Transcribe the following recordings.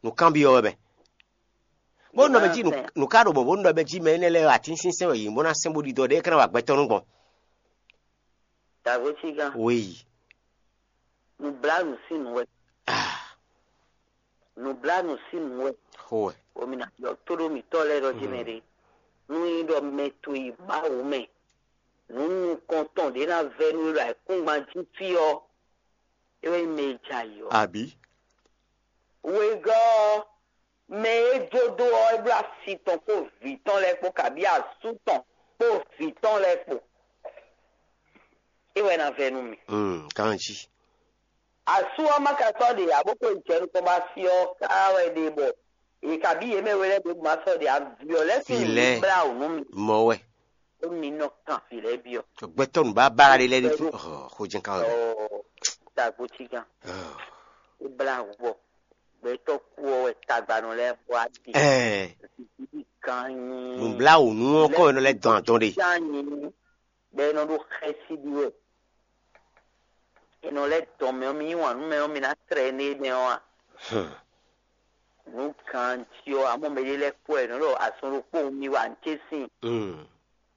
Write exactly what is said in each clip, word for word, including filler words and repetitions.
Nǔkanbyɔ́ wɛ mɛ. Bó nɔ mɛ jí nǔ- nǔ ka ɖo mɔ̌ bó nɔ mɛ jí mɛ énɛ́ lɛ́ɛ atínsínsɛ́n wɛ yě nyí bó ná sɛ́n bó ɖidɔ ɖé é ka ná wa gbɛtɔ́ nú gbɔn. Dǎgbó cígán. Wéyi. Nǔblánu sín nǔ wɛ. Ah, Nǔblánu sín nǔ wɛ. Xó wɛ. Omi ná yɔ tó ɖó mǐtɔn lɛ́ɛ ɖɔ jí mɛ ɖé. Nú nyí ɖɔ mɛ to yi Mawu mɛ, nǔ nukɔntɔn ɖě ná vɛ́ nú we ɖo ayǐkúngban jí fí ɔ́, é wɛ nyí mɛ e jɛ ayǐ ɔ́. Àbí? Wegɔ́ ɔ́, mɛ e jó dó ɔ́, é bló asi tɔn kpó vǐ tɔn lɛ́ɛ kpó, kabí asú tɔn kpó vǐ tɔn lɛ́ɛ kpó. É wɛ ná vɛ́ nú mi. Mm, ganjí. Asú ɔ́ ma ka sɔ́ ɖe ǎ, bó xwe jɛ nukɔn bó asi ɔ́ ká wɛ ɖe bɔ è kabí yě mɛ we lɛ́ɛ ɖě bó ma sɔ́ ɖe ǎ. Vǐ ɔ́ lɛ́ɛ sín nǔ blá wǔ nú mi. Mɔ wɛ. Bónú mi nɔ kan vǐ lɛ́ɛ byɔ́. Gbɛtɔ́ nǔbábára ɖé lɛ́ɛ ɖé tú. Ɔ́, xó jɛ́n ká wɛ. Ɔ́, dagbo cí gán. Ɔ́. É blá wǔ bɔ gbɛtɔ́ kú ɔ́ wɛ tagbanɔ lɛ́ɛ bɔ á ɖe. Ɛɛ. Gan nyi. Nǔbláwǔnú ɔ́ kɔn wɛ nɔ lɛ́ dɔn adɔn ɖe. Gan nyi. Bɔ é nɔ ɖó xɛsi ɖi wɛ. È nɔ lɛ́ dɔn mɛ ɔ́, mi yí wǎn nú mɛ ɔ́, mi ná tlɛ énɛ́ mɛ ɔ́ a? Hmm. Nǔ ganjí ɔ́, amɔ́ mɛ ɖé lɛ́ɛ kpɔ́ ɛ nɔ́ ɖɔ azɔn ɖokpó mi wa nǔ ce sín. Hmm.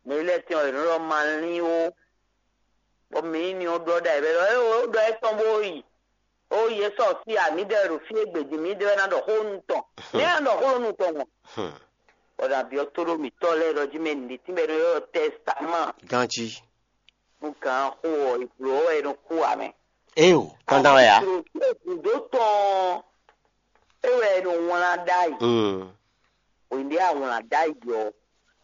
Mɛ ɖé lɛ́ɛ tɛn ɔ́, è nɔ́ ɖɔ ma lín ó. Bɔ mǐ ní ɔ́ ɖɔ ɖ'ayǐ wɛ ɖɔ é ó ɖɔ étɔn bó yi. Ó yě sɔ fí a, mǐdɛɛ ɖo fí e gbějí mǐdɛɛ wɛ ná ɖɔ xó nú tɔn. Mǐ ná ɖɔ xó nú tɔn mɔ. Hmm. Bɔ ɖo abyɔ́ tó ɖó mǐtɔn lɛ́ɛ ɖɔ jí mɛ nǐɖé tínmɛ ɖo ylɔ́ tɛ́stáman. Ganjí. Nú gǎn xó ɔ́, è blǒ ɔ́ wɛ è nɔ kú ǎ mɛ. Éyo, dandan wɛ ǎ. Gǔdo tɔn é wɛ è nɔ wlán ɖ'ayǐ. Mm. Hwěɖé a wlán ɖ'ayǐ ɔ́,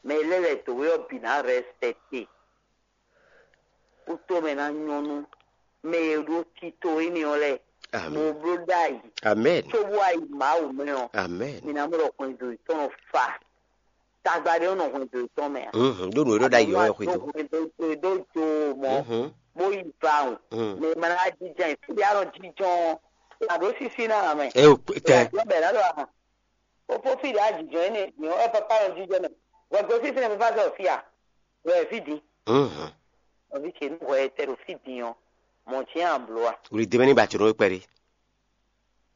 mɛ lɛ́ lɛ̌ dǒ we ɔ́ bǐ ná rɛspɛkte. Kútomɛ ná nyɔ́ nú mɛ e ɖó tito énɛ́ ɔ́ lɛ́ɛ. Amɛn. Mo bló ɖ'ayǐ. Amɛn. Cóbó ayi Mawu mɛ ɔ́, Amɛn. Mi ná mɔ ɖɔ hwɛndo yětɔn nɔ fa. Tagba ɖé ɔ́ nɔ hwɛndo yětɔn mɛ ǎ. Mhm. Ɖó nǔ e ɖó ɖ'ayǐ ɔ́ wɛ xwedó. Hwɛndo do jo mɔ, Mhm. Bó yi vawun. Mhm. Mɛ ma ná jínjɔ́n ɛ. Fí ɖé a nɔ jínjɔ́n ɔ́, a ɖǒ sísí ná ǎ mɛ. Ɛ o, tɛ. Jɔ́n bɛ̌ ná ɖɔ a. Ó fó fí ɖě a jǐjɔ́n énɛ́ din ɔ́, wɛ papá nɔ jínjɔ́n mɛ. Hwɛgǒ sísí nɛ papá sɔ fí a? Wɛ fí din. Mhm. Nɔví ce nú hwɛ e tɛ ɖo fí din ɔ́, mɔ̌ cyɛ́n a blǒ a? Wlí dé mɛ ní ba jǒnɔ wé kpɛɖé.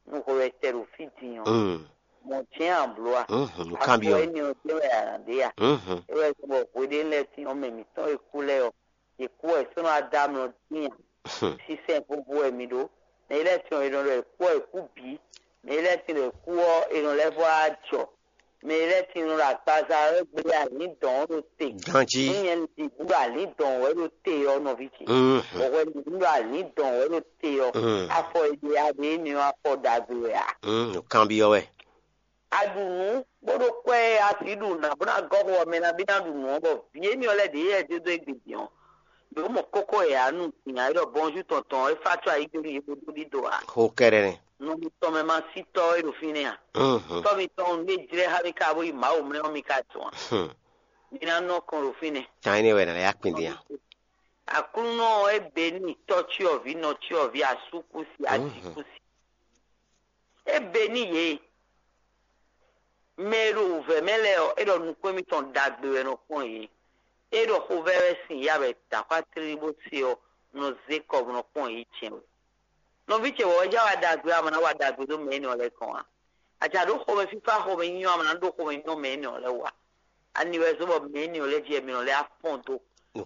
Nú hwɛ e tɛ ɖo fí din ɔ́, Mm. Mɔ̌ cyɛ́n a blǒ a? Mhm. Nǔkanbyɔ́. Afɔ énɛ́ ɔ́ jɛ́n wɛ a nǎ ɖe a? Mhm. É wɛ zɔ́n bɔ hweɖénu lɛ́ɛ sín ɔ́ mɛ mǐtɔn e kú lɛ́ɛ ɔ́, yě kú wɛ sɔ́ nɔ wá dó amlɔ dín a? Hmm. Sísɛ́n xóxó wɛ mi ɖó. Mɛ e lɛ́ɛ tɔn è nɔ ɖɔ è kú ɔ́, è kú bǐ. Mɛ e lɛ́ɛ tɔn è kú ɔ́, è nɔ lɛ́ vɔ wá jɔ. Mɛ e lɛ́ɛ tɔn è nɔ ɖo agbaza ɔ́ gblé alǐndɔn ɔ́ ɖo te. Ganjí. Nú nyɛ ɖi bǔ ɖo alǐndɔn wɛ ɖo te ɔ́, nɔví ce. Mhm. Bɔ hwɛ ɖi bǔ ɖo alǐndɔn wɛ ɖo te ɔ́. Mhm. Afɔ e ɖe a ɖe énɛ́ ɔ́, afɔ ɖagbe wɛ a? Mhm. Nǔkanbyɔ́ wɛ. A ɖu nǔ, bó ɖó kwɛ́ e a sǐ ɖu nǎ bó ná gɔ́ xo ɔ́ mɛ ná bí ná ɖu nǔ ɔ́, bɔ vǐ énɛ́ ɔ́ lɛ́ɛ ɖě yɛ dó dó égbé din ɔ́, ɖǒ mɔ kókó yɛ ǎ nu din ǎ, é ɖɔ bɔnjú tɔn tɔn é fá có ayígbénu yě bó dó ɖído ǎ. Xó kɛ́ɖɛ́ nɛ́. Nɔ mitɔn mɛ ma sí tɔ́ é ɖo fínɛ́ a? Mhm. Tɔ́ mitɔn nú é jlɛ́ xá mì ká bó yi Mawu mlɛ́ ɔ́, mi ka dɔn a? Hmm. Mi ná nɔ kɔn ɖo fínɛ́. Tán énɛ́ wɛ nǎ lɛ́ yá kpin din a? Aklúnɔ ɔ́, é bě n'i tɔ́cyɔvǐ, nɔcyɔvǐ, asúkúsi, Mhm. Ajíkúsi. É bě n'i yě. Mɛ e ɖo wǔvɛ́ mɛ lɛ́ɛ ɔ́, é ɖɔ nukún émítɔn ɖagbe wɛ nɔ kpɔ́n yě. É ɖɔ xovɛ́ wɛ sin yá wɛ dǎxwá tlílí bó se ɔ́, nɔ zé kɔ bó nɔ kpɔ́n yě jɛ́n wɛ. Nɔví ce wɔ wɛ já wa ɖagbe, a ma ná wa ɖagbe dó mɛ énɛ́ ɔ́ lɛ́ɛ kɔn a? A jǎ ɖó xomɛ fífá xomɛ nyínyɔ́, a ma ná ɖó xomɛ nyínyɔ́ mɛ énɛ́ ɔ́ lɛ́ɛ wú a? Ani wɛ zɔ́n bɔ mɛ énɛ́ ɔ́ lɛ́ɛ jí wɛ mi nɔ lɛ́ afɔ́n dó?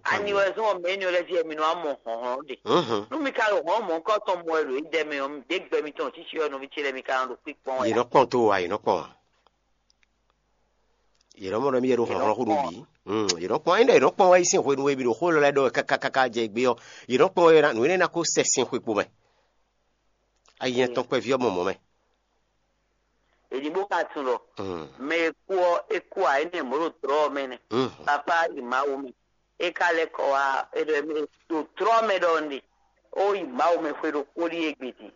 Ani wɛ zɔ́n bɔ mɛ énɛ́ ɔ́ lɛ́ɛ jí wɛ mi nɔ wá mɔ hlɔ̌nhlɔ́n ɖe? Mhm. Nú mi ka ɖo hlɔ̌nhlɔ́n mɔ̌hunkɔtɔn mɔ wɛ ɖo yí ɖɛ mɛ ɔ́, ɖě gbɛ mitɔn ɔ́ cící wɛ nɔví ce lɛ́ɛ mi ka nɔ ɖo kpíkpɔ́n wɛ Yě a? Nɔ kpɔn tó a, yě nɔ kpɔn a? Yě nɔ mɔ ɖɔ mì yɛ ɖo hlɔ̌nhlɔ́n xó ɖo bǐ. Mm, yě nɔ kpɔn, ényí ɖɔ yě nɔ kpɔn wɛ yí sín hwenu e mì ɖo xó élɔ́ lɛ́ɛ ɖɔ wɛ káká káká jɛ gbé ɔ́, yě nɔ kpɔn wɛ ná, nǔ énɛ́ ná kó sɛ sin xwe kpo mɛ. Ayi nyɛ tɔn kpɛví ɔ́ mɔ mɔ̌ mɛ. Èdìbò ka tunɔ. Mm. Mɛ e kú ɔ́, é kú ǎ, énɛ́ mɔ̌ ɖo dlɔ̌ ɔ́ mɛ nɛ́. Mm. Papá yi Mawu mɛ. É ka lɛ́ kɔ wá, é ɖɔ mɛ ɖo dlɔ̌ mɛ ɖɔ un ɖe. Ó yi Mawu mɛ xwe ɖokpó ɖíe gbe din.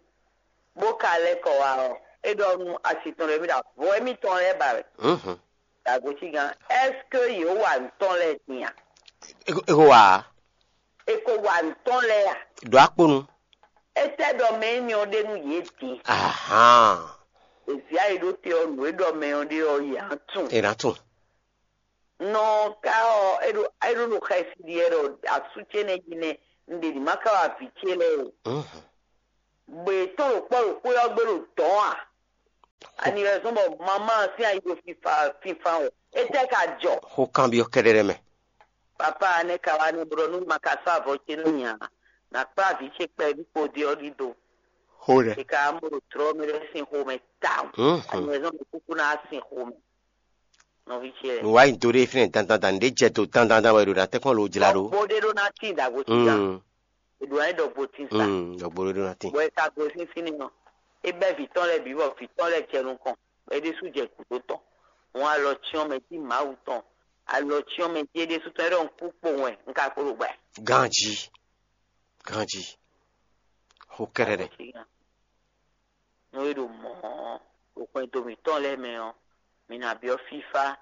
Bó ka lɛ́ kɔ wá ɔ́, é ɖɔ nú asi tɔn lɛ́ɛ mì ɖo avɔ émítɔn lɛ́ɛ ba wɛ. Mhm. Dǎgocí gán, ɛ́skú yě wa nǔ tɔn lɛ́ɛ din a? É ko wá a? È ko wa nǔ tɔn lɛ́ɛ a? Ɖo akponu. Étɛ́ ɖɔ mɛ énɛ́ ɔ́ ɖe nú yě din? Ahán. Ezia e ɖó te ɔ́, nǔ e ɖɔ mɛ ɔ́ ɖe ɔ́, yě á tunwun. È nǎ tunwun. Nɔ ka ɔ́, é ɖo é ɖo nɔ xɛsi ɖi wɛ ɖɔ asú ce nɛ́ jí nɛ́, un ɖe nǔ ma ka wá vǐ ce lɛ́ɛ o. Mhm. Gbě tɔn ɖo kpɔ́ ɖo xwé ɔ́ gbe ɖo dɔ̌n a? Ani wɛ zɔn bɔ mama sín ayi ɖo fífá fífá o. Étɛ́ ka jɔ? Xó kanbyɔ́ kɛ́ɖɛ́ɖɛ́ mɛ. Papa ne ka wá ne blɔ nú ma ka sɔ́ avɔ ce nú nya. Na kplá vǐ ce kpɛví kpo ɖi ɔ́ ɖi do. Xó ɖɛ. E ka mɔ ɖo trɔ mi ɖe sin xomɛ tawun. Mhm. Ani wɛ zɔn bɔ kúkú ná sin xomɛ. Nɔví ce lɛ. Nǔ wá nyi do ɖé fínɛ́ dandandan, nǔɖé jɛ do dandandan wɛ è ɖo ná tɛ́nkpɔ́n lo jlá ɖó. Bó ɖé ɖó ná tín dǎgbo sí gán. Mm. È ɖǒ wá ɖɔ gbotín sa. Mm, ɖɔ gboɖoɖo ná tín. Bɔ è ka gosín sín nínɔ. É bɛ́ vǐ tɔn lɛ́ɛ bǐ bɔ vǐ tɔn lɛ́ɛ jɛ nukɔn, bɔ é ɖésú jɛ gǔdo tɔn. Hɔn alɔ cyɔ́n mɛ jí Mawu tɔn, alɔ cyɔ́n mɛ jí é ɖésú tɔn, é ɖɔ un kú kpowun wɛ, un ka kpo ɖo gbɛ. Ganjí, ganjí, xó kɛ́ɖɛ́ɖɛ. Nú é ɖo mɔ̌ ɔ́, ɖo xwɛndo mǐtɔn lɛ́ɛ mɛ ɔ́, mǐ ná byɔ́ fífá,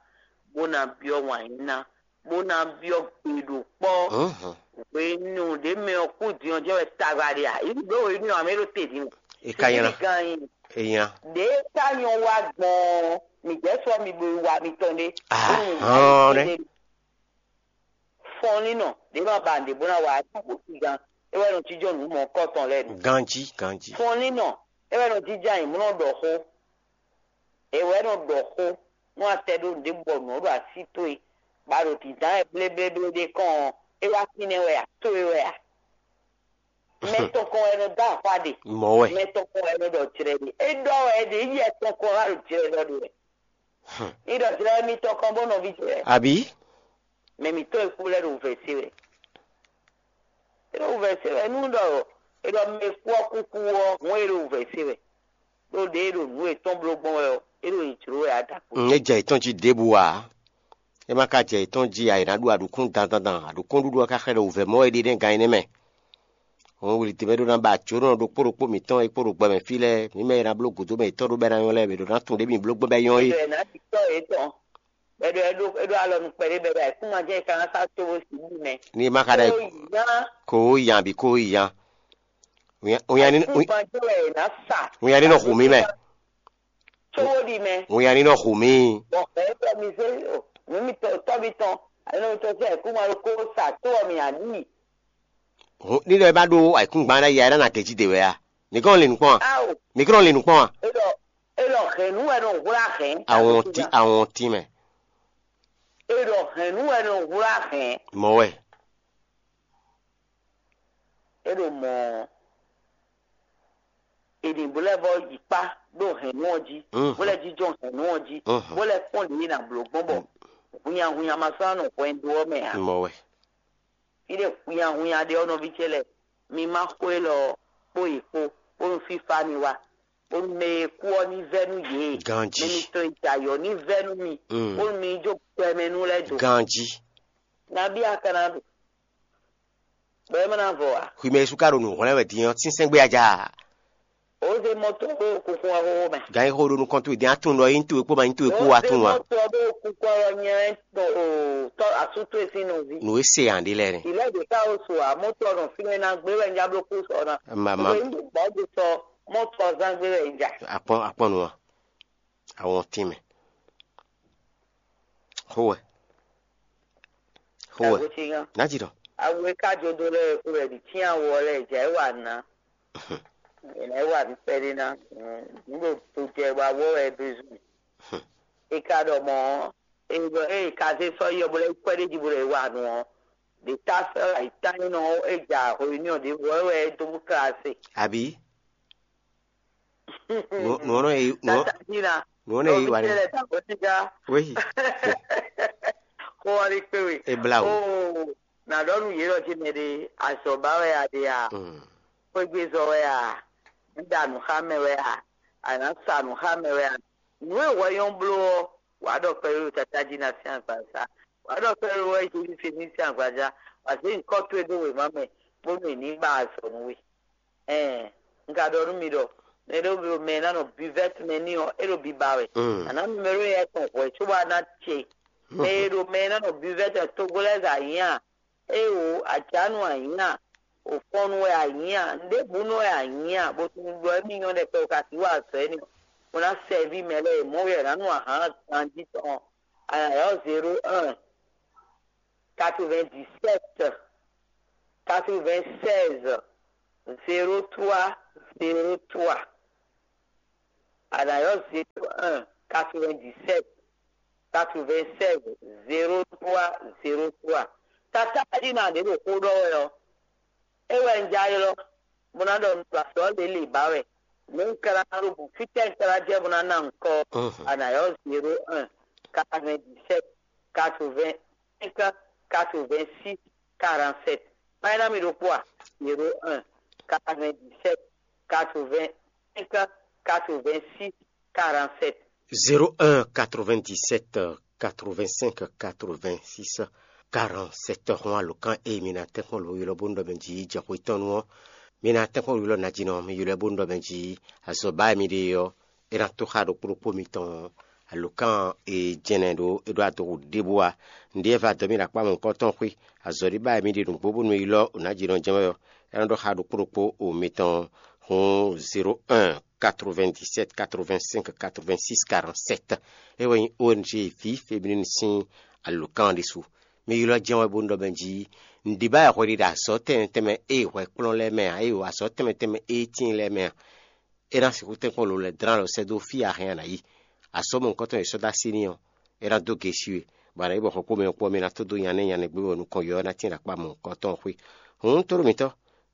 bó ná byɔ́ wǎnyíná, bó ná byɔ́ gbe ɖo kpɔ́. Hǔn hǔn. Hwenu ɖě mɛ ɔ́ kú din ɔ́ jɛ́n wɛ tagba ɖe a? Yě bló hwenu ɔ́, mɛ ɖo te din. É ka nylá. Gan nyi. É nylá. Ɖě ka nyɔ wá gbɔn ɔ́, mǐ jɛ sɔ mi bo yi wa mitɔn ɖé. Ahɔn nɛ́. Fɔnlínnɔ ɖě ma ba nǔɖé bó ná wa ɛ kpó gán, é wɛ nɔ jínjɔ́n nǔ mɔ̌kɔtɔn lɛ́ɛ nu. Ganjí, ganjí. Fɔnlínnɔ é wɛ nɔ jínjɔ́n ayǐmlɔ́ ɖɔ xó. É wɛ nɔ ɖɔ xó nú a tɛ ɖó nǔɖé bɔ nǔ ɔ́ ɖo así towe, bɔ a ɖo dǐndán wɛ bléblé ɖé kɔn ɔ́, é wá fínɛ́ wɛ a? Towe wɛ a? Mɛ tɔn kɔn wɛ nɔ dó axwá ɖe. Mɔ̌ wɛ. Mɛ tɔn kɔn wɛ nɔ ɖɔ jlɛ ɖe. É ɖɔ wɛ ɖe yɛ tɔn kɔn wá ɖo jlɛ ɖɔ ɖe wɛ. Ní ɖɔ jlɛ mitɔn kɔn bó nɔví jlɛ. Abǐ? Mɛ mǐtɔn e kú lɛ́ɛ ɖo wǔvɛ́ se wɛ. É ɖo wǔvɛ́ se wɛ nú ɖɔ è ɖɔ mɛ e kú ɔ́ kúkú ɔ́, hǔn e ɖo wǔvɛ́ se wɛ. Ɖó ɖě e ɖo nǔ yětɔn bló gbɔn wɛ ɔ́, é ɖo yě jló wɛ a ɖo agun. Mm, é jɛ yětɔn jí ɖěbǔ ǎ. É ma ka jɛ yětɔn jí ǎ, è nǎ ɖu aɖǔkún dandandan. Aɖǔkúnɖuɖu ɔ́ ka xlɛ́ ɖo wǔvɛ́ mɔ wɛ ɖi nɛ́ gan énɛ́ mɛ. Hǔn wlǐdimɛ ɖó ná ba jǒnɔ ɖokpó ɖokpó mǐtɔn e kpó ɖo gbɛ mɛ fí lɛ́ɛ, mǐ mɛ e ná bló gǔdo mɛ yětɔn ɖó bɔ é ná nyɔ́ lɛ́ɛ, mǐ ɖó ná tunwun ɖě mǐ bló gbɔn bɔ é nyɔ́ é. Bɛɖɛ ná ti tɔ́ yětɔn. Bɛɖɛ ɖó é ɖó alɔ nukpɛ ɖé bɛɖɛ ayǐkúngban jɛ́n è ka ná sá cóbó sixú mɛ. Ní ma ka ɖɔ Kó yi nya. Kó yi nya bǐ kó yi nya. Wínya ní Ayǐkúngban jɛ́n wɛ è nǎ sa. Wínya ní nɔ hu mì mɛ. Cóbó ɖi mɛ. Wínya ní nɔ hu mì. Bɔ xɛ tɔ́ mi zé o, nǔ mi tɔ́ tɔ́ mi tɔn, ayǐnɔ mi tɔn sín ayǐkúngban ɖokpó sa tó ɔ mi aɖi. Ní ɖɔ é má ɖó ayǐkúngban ɖ'ayǐ ǎ, é ná nɔ agě jí ɖe wɛ a? Mǐ kɔn lin nǔ kpɔ́n a? Ao, Mǐ kɔn lin nǔ kpɔ́n a? É ɖɔ é ɖɔ hɛ̌nnu wɛ nɔ hwlá hɛ̌n. Awɔn tí awɔn tí mɛ. É ɖɔ hɛ̌nnu wɛ nɔ hwlá hɛ̌n. Mɔ̌ wɛ. É ɖo mɔ̌ ɔ́, è nǐ bó lɛ́ vɔ yi kpá ɖó hɛ̌nnu ɔ́ jí, Mhm. bó lɛ́ jínjɔ́n hɛ̌nnu ɔ́ jí, Mhm. bó lɛ́ kpɔ́n ɖě e è nǎ bló gbɔn bɔ hunnyahunnya ma sɔ́ nɔ hwɛndo ɔ́ mɛ ǎ. Mɔ̌ wɛ. Fí ɖé hunnyahunnya ɖe ɔ́, nɔví ce lɛ́ɛ, mi má xó élɔ́ ɔ́ kpó yě kpó, bónú fífá ní wá, bónú mɛ e kú ɔ́ ní vɛ́ nú yě. Ganjí. Mɛ mitɔn e jɛ ayɔ̌ ní vɛ́ nú mi, Mm. bónú mi ní jó gbɛmɛ nú lɛ́ɛ do. Ganjí. Nabí a ka ná ɖu? Bɔ é má ná vɔ ǎ. Xwi mɛ Jezu ka ɖo nǔ hwlɛ́n wɛ din ɔ́, sínsɛ́n gbé a ja? Ó zé mɔtɔ ɖó kunkun ɔ́ xóxó mɛ. Gan yi xó ɖo nukɔn towe din, a tunwun ɖɔ é nyí towe kpó ma nyí towe kpó, a tunwun a? Ó zé mɔtɔ ɖó kunkun ɔ́ nyɛ tɔ asú towe sín nɔví. Nǔ e se ǎ ɖé lɛ́ɛ nɛ. Ìlɛ ɖě ká ó su ǎ, mɔtɔ nɔ fínɛ́ ná gbé wɛ ń já bló kú sɔ ná. Mama. Gbé ń bɔ gbé sɔ mɔtɔ zán gbé wɛ ń já. Akpɔn akpɔn nu a? Awɔn tín mɛ. Xó wɛ. Xó wɛ. Nǎ jǐ ɖɔ. Awu e ka jó dó lɛ́ɛ kú wɛ ɖi cyán wɔ lɛ́ɛ jɛ é wa nǔ ná. È nǎ é wa nǔ kpɛɖé ná. Nǔ ɖo to jɛ wa wɔ wɛ é bézú. E ka ɖɔ mɔ̌, e ɖɔ ée ka zé sɔ́ yi ɔ́, bó lɛ́ kwɛ́ ɖ'é jí bó lɛ́ wa nǔ ɔ́, ɖě ta sɛ́ ayǐ tánnyínɔ ɔ́, é ja hwenu ɔ́ ɖěvo ɔ́ wɛ é dó bó klá se. Abǐ? Nǔ nǔ ɔ́ nɔ yi nǔ ɔ́ Tata Jina. Nǔ ɔ́ nɔ yi wa ɖe. Lɛ ta ko ti ga. Wéyi. Xó ɔ́ ɖi kpé we. E bla o. Oo, nà ɖɔ nú yě ɖɔ jí mɛ ɖe, azɔ̌ ba wɛ a ɖe a? Mm. Xwégbezɔ wɛ a? Nǔɖa nǔ xá mɛ wɛ a? A nǎ sa nǔ xá mɛ wɛ a? Nǔ e hwɛ nyɔ́ bló ɔ́, wǎ ɖɔ kpɛɖé ɖo Tata Jina sín agbaza. Wǎ ɖɔ kpɛɖé wɛ Jezu se ní sín agbaza. Wǎ zé nyǐkɔ towe ɖó wěma mɛ, bónú è ní ba azɔ̌ nú we. Ɛɛn, un ka ɖɔ nú mi ɖɔ mɛ ɖé ɖo mɛ e ná nɔ bivɛ́t mɛ n'i ɔ́, é ɖo biba wɛ. Mm. A nǎ mɛ ɖó yɛ tɔn hwɛ̌ cóbɔ a ná ce. Mɛ e ɖo mɛ e ná nɔ bivɛ́t mɛ togbó lɛ́ɛ zɛ anyǐ a? Éeǒ, acǎnú anyǐ a? Ofɔnnu wɛ anyǐ a? Nǔɖébǔnú wɛ anyǐ a? Bó tunwun ɖɔ émí nyɔ́ ɖɛkpɛ bó ka sixú wa azɔ̌ énɛ́ ɔ́, bó ná sɛví mɛ lɛ́ɛ e mɔ̌ wɛ è nǎ nu ahan ganjí tɔn ɔ́. A nǎ ylɔ́ zéro un, quatre-vingt-dix-sept, quatre-vingt-seize, zéro trois, zéro trois. A nǎ ylɔ́ zéro un, quatre-vingt-dix-sept, quatre-vingt-seize, zéro trois, zéro trois. Tatájí ná ɖě ɖo xó ɖɔ wɛ ɔ́, é wɛ un já ylɔ́, bó ná ɖɔ un ɖo azɔ̌ lělě ba wɛ. Nǔ un ka ná ɖó bǔ fítɛ́ un ka ná jɛ bó ná ná ŋkɔ ɔ́, a nǎ ylɔ́ zéro un, quatre-vingt-dix-sept, quatre-vingt-cinq, quatre-vingt-six, quarante-sept. Má é ná mi ɖokpó a? Zéro un, quatre-vingt-dix-sept, quatre-vingt-cinq, quatre-vingt-six, quarante-sept. Zéro un, quatre-vingt-dix-sept, quatre-vingt-cinq, quatre-vingt-six, quarante-sept. Hɔn alɔkán e mi ná tɛ́nkpɔ́n lǒ ylɔ́ bónú ɖɔ mɛ jí jɛ xwé tɔn nu ɔ́, mi ná tɛ́nkpɔ́n ylɔ́ najínɔ mi ylɔ́ bónú ɖɔ mɛ jí azɔ̌ ba e mi ɖe ɔ́, é ná tó xá ɖokpó ɖokpó mitɔn. Alɔkán e jɛnɛ ɖó é ɖó adoxo ɖěbǔ ǎ. Nǔɖé e va dɔ̌ mì ɖo akpá mɔ̌hunkɔtɔn xwé, azɔ̌ ɖé ba e mi ɖe nǔgbó bónú mi ylɔ́ o nǎjínɔ jɛ́n wɛ ɔ́, é nɔ́ ɖɔ xá ɖokpó ɖokpó o mitɔn. Hǔn zéro un, quatre-vingt-dix-sept, quatre-vingt-cinq, quatre-vingt-six, quarante-sept. É wɛ nyí O N G Vie Féminine sín alɔkán ɔ́ ɖésú. Mi ylɔ́ jɛ́n wɛ bónú ɖɔ mɛ jí nǔɖé ba e hwɛ ɖi ɖo azɔ̌ tɛnmɛ tɛnmɛ e hwɛ kplɔ́n lɛ́ɛ mɛ ǎ, e azɔ̌ tɛnmɛ tɛnmɛ e tíin lɛ́ɛ mɛ ǎ. É ná sixú tɛ́nkpɔ́n lǒ lɛ́ɛ dlán lɔ sɛ́ dó fí e a hɛn a nǎ yi. Asɔ́ mɔ̌hunkɔtɔn e è sɔ́ dó así n'i ɔ́, é ná dó ge sí we, bɔ a nǎ yi bɔ xɔ kpó mɛ kpó ɔ́, mi ná tó dó nya nɛ́ nya nɛ́ gbé bɔ nukɔn yɔ̌yɔ́ ná tín ɖo akpá mɔ̌hunkɔtɔn xwé. Hǔn tlóló mǐtɔn,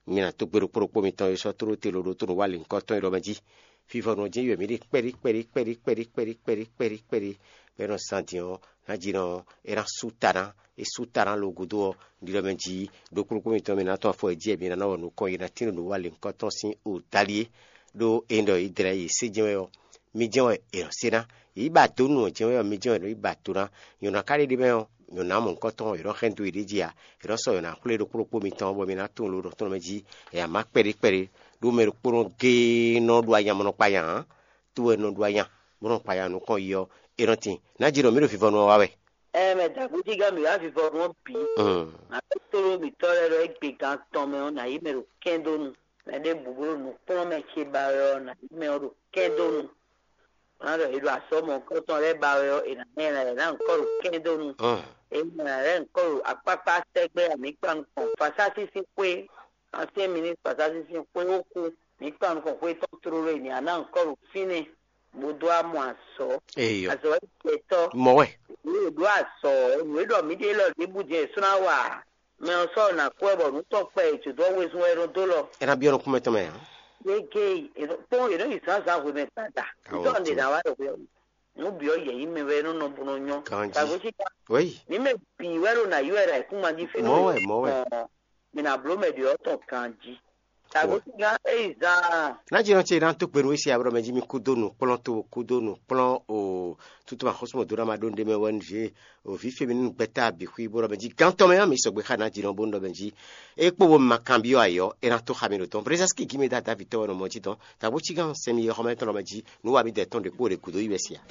mi ná tó gbe ɖokpó ɖokpó mitɔn e sɔ́ tlóló te loɖó tó nǔ wa lěhunkɔtɔn e ɖɔ mɛ jí. Fífɔnu ɔ́ jɛ́n yi wɛ mǐ ɖe kpɛɖí kpɛɖí kpɛɖí kpɛɖí kpɛɖí kpɛɖí kpɛɖí kpɛɖí kpɛɖí, bɔ é nɔ zán din ɔ́, ná jí nɔ é ná sú ta ná é sú ta ná lo gúdo ɔ́, ɖiɖɔ mɛ jí ɖokpó ɖokpó mitɔn mi ná tɔ́n afɔ e jí wɛ mi ná ná wɔ nukɔn yi ná tín nǔ wa lěhunkɔtɔn sín o dali é. Ɖó é ɖɔ Izlayɛ́li sé jɛ́n wɛ ɔ́, mí jɛ́n wɛ è nɔ sé ná. Yě yi ba dó nú ɔ́ jɛ́n wɛ ɔ́, mí jɛ́n wɛ è nɔ yi ba do ná. Nyɔ̌ná ka ɖé ɖé mɛ ɔ́, nyɔ̌ná mɔ̌hunkɔtɔn è nɔ hɛn dó yě ɖ'é jí ǎ. È nɔ sɔ́ nyɔ̌ná xwlé ɖokpó ɖokpó mitɔn bɔ mi ná tunwun lo ɖɔ tɔn mɛ jí. È nǎ má kpɛɖé kpɛɖé, ɖó mɛ ɖokpónɔ géé nɔ ɖo anyamɔnɔ kpa nya ǎ. Tó wɛ nɔ ɖo anya, bó nɔ kpa nya nukɔn yi ɔ́, è nɔ tin. Ná jí ɖɔ mǐ ɖo vivɔnu ɔ́ wa wɛ. Ɛ mɛ dǎgbéjígán mǐ wá vivɔnu ɔ́ bǐ. Apostolo mǐtɔn lɛ́ɛ ɖɔ égbé gan tɔn mɛ ɔ́, nǎ yí mɛ ɖo kɛ́ndónu. Mɛ ɖěbǔ bó ɖo nǔkplɔ́nmɛ ce ba wɛ ɔ́, nǎ yí mɛ ɔ́ ɖo kɛ́ndónu. Ná ɖɔ è ɖo asɔ́ mɔ̌hunkɔtɔn lɛ́ɛ ba wɛ ɔ́, è nǎ mɛ ɛ ná nyɔ̌ kɔ ɖo kɛ́ndónu. È nǎ lɛ́ nyɔ̌ kɔ ɖo akpákpá sɛgbɛ́ amǐkpa nukɔn. Fasásín sín xwé, ancien ministre Fasásín sín xwé ó kú. Mǐ kpa nukɔn xwé tɔn tlóló e mǐ ná ná nyɔ̌ kɔ ɖo fínɛ́, bó dó amɔ azɔ̌. Eyɔ. Azɔ̌ wɛ jɛ tɔ́. Mɔ wɛ. Nǔ e ɖó azɔ̌, nǔ e ɖɔ mǐ ɖe lɔ ɖěbǔ jɛ́n è sɔ́ ná wa. Mɛ ɔ́ sɔ́ ná kú wɛ bɔ nǔ tɔn kpɛ è jǒ dó wezun wɛ è nɔ dó lɔ. É ná byɔ́ nukúnmɛ tɔn mɛ ǎ. Yé géyi, è nɔ kpɔ́n è nɔ yi zǎnzǎn hwemɛ gbada. Awɔ, Ntɔ́ ɖe ná wá ɖo hwɛ. Nǔ bǐ ɔ́ yɛ̌yi mɛ wɛ é nɔ nɔ bó nɔ nyɔ́. Ganjí. Tàgó sí ká. Wéyi. Ní mɛ bǐ wɛ ɖo nǎ yi wɛ ɖo ayǐkúngban jí fínú. Mɔ̌ wɛ, mɔ̌ wɛ. Mǐ ná bló mɛ ɖě ɔ́ tɔn ganjí. Tàgó sí ká é yi zan. Ná jí nɔ ce ná tó gbenu wé si ablɔ mɛ jí mi kú dó nǔkplɔ́n tó kú dó nǔkplɔ́n o. Tutu ma xɔsúmɔ dó ná ma ɖó nɖé mɛ wɛ nú vǐ o vǐ femi nú gbɛtá bǐ xwí bó ɖɔ mɛ jí gán tɔn mɛ ɔ́ mi sɔgbe xá ná jí nɔ bó nú ɖɔ mɛ jí. É kpó wo ma kanbyɔ́ ayɔ é ná tó xa mi ɖo tɔn brezɛski gí mi dá davi tɔ́ wɛ nɔ mɔ jí tɔn. Tàgó cí gán sɛmi yɛ xɔmɛ tɔn lɔ mɛ jí nú wa mi dɛ tɔn ɖě kpó ɖě gǔdo yi wɛ sia.